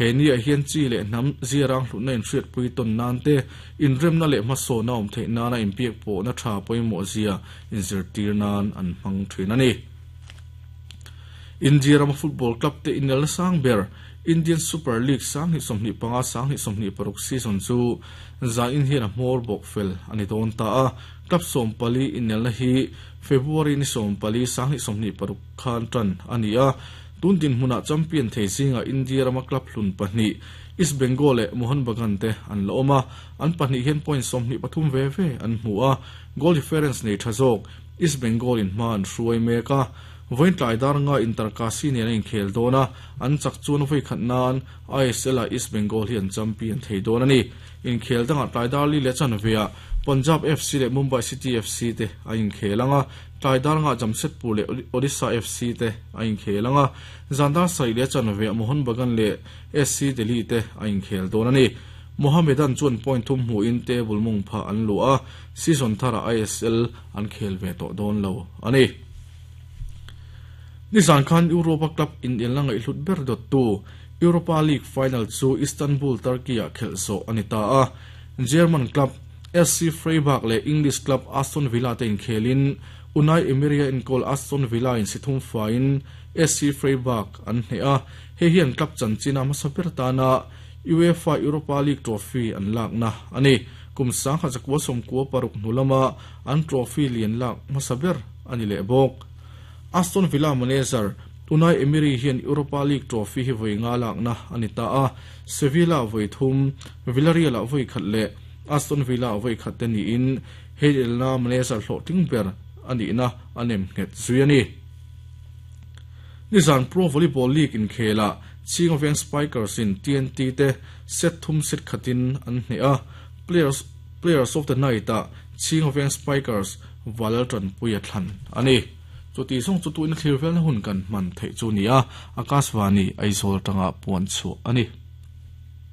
He ni ah hian chi leh hnam ziarang hlutna inhriatpui tawn nan te, inremna leh hmasawnna awm theih nana inbiak pawhna tha pawimawh zia inzirtir nan an hmang thin a ni. India rama football club te inelna sang ber Indian Super League 2025 2026 season chu zanin hian a hmawr bawk fel a ni dawn ta a, club 14 inelna hi February ni 14 2026 khan tan a ni a. Tun dinhmunah champion thei zingah India rama club hlun pahnih East Bengal leh Mohun Bagan te an la awm a, an pahnih hian point 23 ve ve an hmu a, goal difference nei tha zawk East Bengal in hma an hruai mek a. Vawiin tlai dar nga Inter Kashi nen a inkhel dawn a, an chak chuan vawi khat nan ISL ah East Bengal hi an champion thei dawn a ni. Inkhel dangah tlai dar li leh chanveah Punjab FC leh Mumbai City FC te a inkhel ang a, tlai dar nga Jamshedpur leh Odisha FC te a inkhel ang a, zan dar sarih leh chanveah Mohun Bagan leh SC Delhi te a inkhel dawn a ni. Mohammedan chuan point thum hmuhin table mawng phah an luh a, season tharah ISL an khel ve tawh dawn lo a ni. Nizan khan Europa Club inelna ngaihhlut ber dawttu Europa League final chu Istanbul, Turkey-ah khelh zawh a ni ta a. German club SC Freiburg leh English club Aston Villa te inkhelin Unai Emery-a enkawl Aston Villa in si thum faiin SC Freiburg an hneh a, hei hian club chanchin a hmasa ber tana UEFA Europa League trophy an lakna a ni. Kum 1996 hnu lama an trophy lian lak hmasa ber a ni leh bawk. Aston Villa manager Unai Emery hian Europa League trophy hi vawi nga lakna a ni ta a, Sevilla vawi thum, Villarreal ah vawi khat leh Aston Villa vawi khat te niin hei elna manager hlawhtling ber a nihna a nem nghet zui a ni. Nizan Pro Volleyball League inkhelah Chhinga Veng Spikers in TNT te set thum set khatin an hneh a, Players Players of the Night ah Chhinga Veng Spikers Valal Tanpuia thlan a ni. Chuti zawng chu tuina thlir velna hun kan hman theih chu ni a, Akashvani Aizawl atanga puan chhuah a ni.